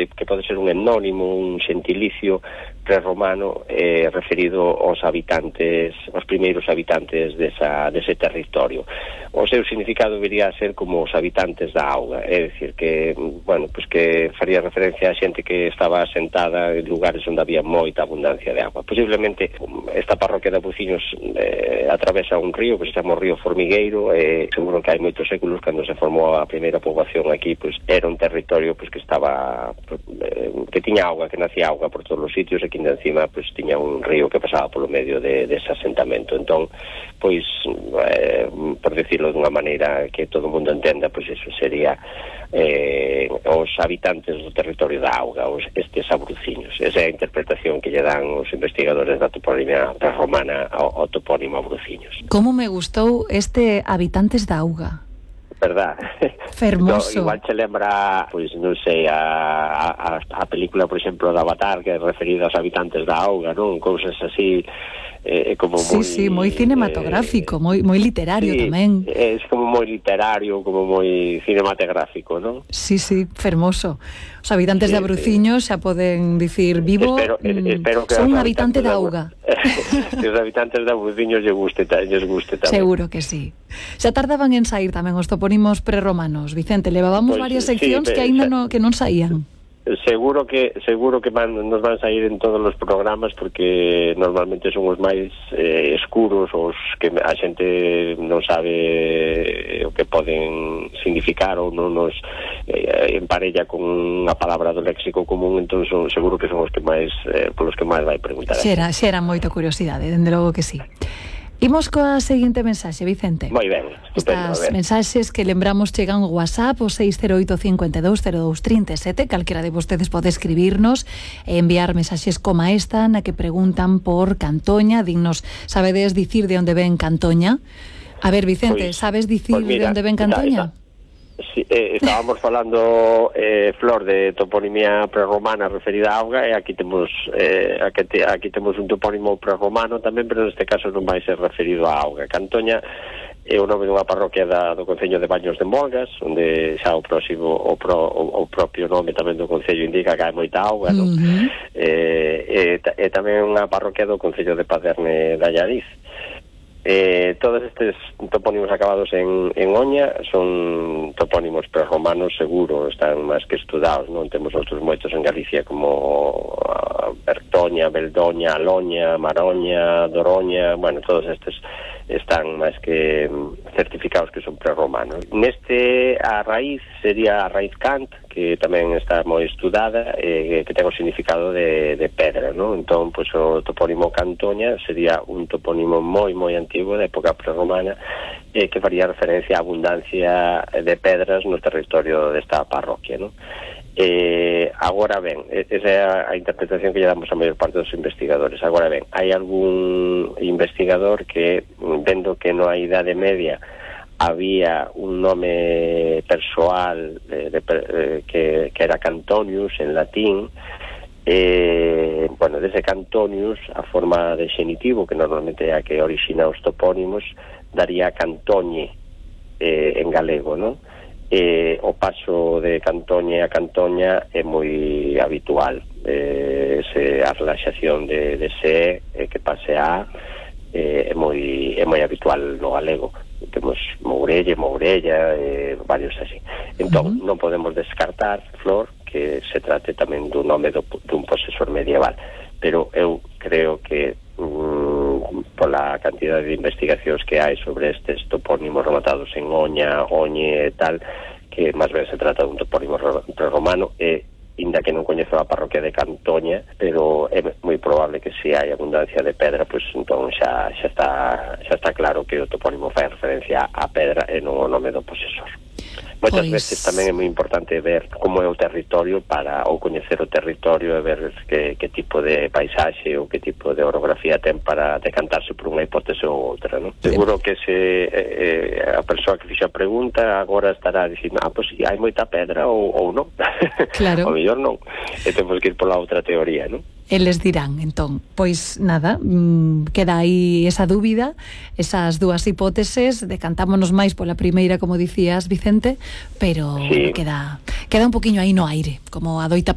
que pode ser un etnónimo, un xentilicio prerromano referido aos habitantes, aos primeiros habitantes dese territorio. O seu significado debería ser como os habitantes da auga, é dicir que, bueno, pues que faría referencia a xente que estaba asentada en lugares onde había moita abundancia de agua. Posiblemente esta parroquia de Abuciños atravesa un río que se chama o río Formigueiro, seguro que hai moitos séculos cando se formou a primeira poboación aquí, pues era un territorio pues que estaba que tiña auga, que nacía auga por todos os sitios, e que encima pues tiña un río que pasaba polo medio dese asentamento. Entón, pois por decirlo dunha maneira que todo o mundo entenda, pois eso sería os habitantes do territorio da auga, estes abruciños. Esa é a interpretación que lle dan os investigadores da toponimia prerromana ao topónimo Abruciños. Como me gustou este habitantes da auga, verdad? Fermoso. No, igual che lembra, pois non sei, a película, por exemplo, de Avatar, que é referida aos habitantes da auga, non? Cousas así, como moi... Sí, moi cinematográfico, moi literario, sí, tamén. É como moi literario, como moi cinematográfico, non? Sí, fermoso. Os habitantes de Abruciños xa poden dicir vivo, espero que son un habitante da auga. Que os habitantes de Abruciños lles guste tamén. Seguro que sí. Xa tardaban en sair tamén os topónimos prerromanos, Vicente, levábamos varias seccións que aínda non saían. Seguro que nos van sair en todos os programas, porque normalmente son os máis escuros, os que a xente non sabe o que poden significar ou non nos emparella con unha palabra do léxico común. Entón seguro que son os que máis polos que máis vai preguntar. Xera moita curiosidade, dende logo que sí. Imos coa seguinte mensaxe, Vicente. Moi ben, estupendo. Estas mensaxes que lembramos chegan ao WhatsApp, o 608-52-02-37. Calquera de vostedes pode escribirnos e enviar mensaxes como esta, na que preguntan por Cantoña. Dignos, sabedes dicir de onde ven Cantoña? A ver, Vicente, sabes dicir de onde ven Cantoña? Sí, estábamos falando, Flor, de toponimia prerromana referida a auga, e aquí temos un topónimo prerromano tamén, pero neste caso non vai ser referido a auga. Cantoña é o nome dunha parroquia do concello de Baños de Molgas, onde xa o propio nome tamén do concello indica que hai moita auga, non? E tamén unha parroquia do concello de Paderne de Allariz. Todos estes topónimos acabados en oña son topónimos prerromanos, seguro, están máis que estudados, non? Temos outros moitos en Galicia, como Bertoña, Beldoña, Aloña, Maroña, Doroña, bueno, todos estes están máis que certificados que son prerromanos. Neste, a raíz sería a raíz Cant, que tamén está moi estudada, que ten o significado de pedra, non? Entón, pois, o topónimo Cantoña sería un topónimo moi antigo, da época prerromana, que faría referencia á abundancia de pedras no territorio desta parroquia, non? Agora ben, esa é a interpretación que lle damos a maior parte dos investigadores. Agora ben, hai algún investigador que, vendo que na Idade Media había un nome persoal que era Cantonius en latín, bueno, dese Cantonius, a forma de xenitivo, que normalmente é a que orixina os topónimos, daría Cantoñe en galego, non? O paso de Cantoñe a Cantoña é moi habitual, a relaxación de se que pase a é moi habitual no galego. Temos Mourelle, Mourella, varios así. Entón, non podemos descartar, Flor, que se trate tamén dun nome dun posesor medieval, pero eu creo que pola cantidad de investigacións que hai sobre estes topónimos rematados en oña, oñe e tal, que máis ben se trata dun topónimo prerromano, inda que non coñezo a parroquia de Cantoña, pero é moi probable que se hai abundancia de pedra, pois entón xa está claro que o topónimo fai referencia á pedra e non o nome do posesor. Moitas veces tamén é moi importante ver como é o territorio ou coñecer o territorio e ver que tipo de paisaxe ou que tipo de orografía ten para decantarse por unha hipótese ou outra, non? Seguro que a persoa que fixa a pregunta agora estará dicindo, pois hai moita pedra ou non. Claro. O mellor non. E temos que ir pola outra teoría, non? Eles dirán, entón, pois nada, queda aí esa dúbida, esas dúas hipóteses, decantámonos máis pola primeira, como dicías, Vicente, pero sí, queda un poquinho aí no aire, como adoita